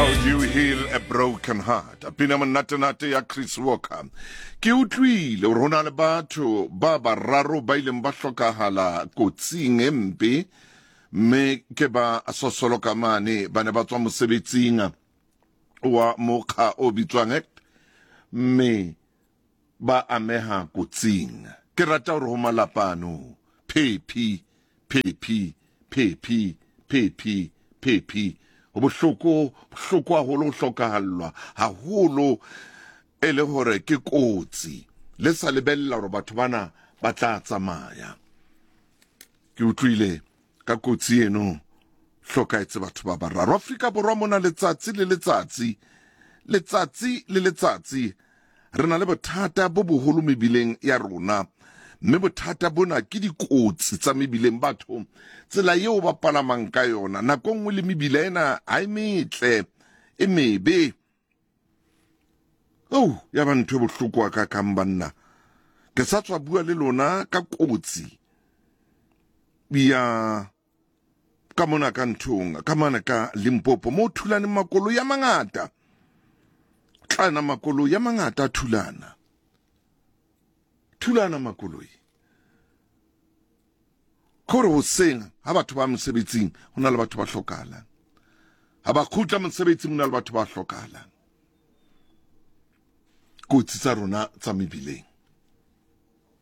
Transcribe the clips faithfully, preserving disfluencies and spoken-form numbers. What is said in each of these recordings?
How do you heal a broken heart? Pina monatenate ya Chris Walker. Ke utlwile hore ho na le batho ba bararo ba ileng ba hlokahala kotsing e mpe, mme ke ba sosolo ka mane ba ne ba tswa mosebetsing wa mokga o bitswang A C T, mme ba ameha kotsing. Ke rata hore ho malapa ano phephi phephi phephi phephi phephi, ho bohloko, bohloko haholo ho hlokahallwa haholo, e le hore ke kotsi le sa lebella hore batho bana ba tla tsamaya. Ke utlwile ka kotsi eno hlokaetse batho ba bararo Afrika Borwa mona. Letsatsi le letsatsi, letsatsi le letsatsi re na le bothata bo boholo mebileng ya rona, mme bothata bona ke dikotsi tsa mebileng. Batho tsela eo ba palamang ka yona nako nngwe le mebila ena ha e metle, e mebe. Oh, ya ba ntho e bohloko ka kang banna. Ke sa tswa bua le lona ka kotsi ya ka mona ka nthong ka mane ka Limpopo, mo thulaneng makoloi a mangata, tlana makoloi a mangata a thulana, thulana makoloi. Kore hoseng ha batho ba mosebetsing ho na le batho ba hlokahalang, ha ba kgutla mosebetsing ho na le batho ba hlokahalang. Kotsi tsa rona tsa mebileng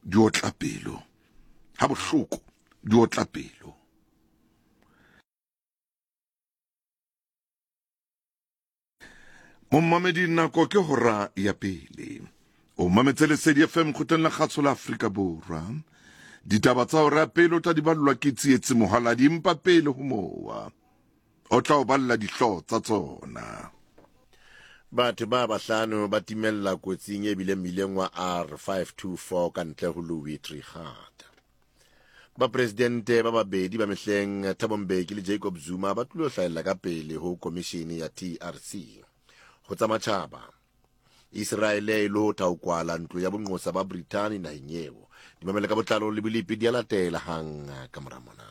di otla pelo ha bohloko, di otla pelo. Momamedi, nako ke hora ya pele. O mametse Lesedi F M kgutleng la kgaso la Afrika Borwa. Ditaba tsa hora ya pele o tla di ballwa ke Tsietsi Mohaladi, empa pele ho mowa o tla o balla dihlooho tsa tsona. Batho ba bahlano ba timella kotsing e bileng mmileng wa R five two four ka ntle ho Louis Trichardt. Ba presidente ba babedi ba mehleng Thabo Mbeki le Jacob Zuma ba tlilo hlahella ka pele ho komishini ya T R C. Ho tsa matjhaba, Israele e lo tha ho kwala ntlo ya bonqosa ba Brithani naheng eo. Dimamele ka botlalo le bolepi di a latela hang ka mora mona.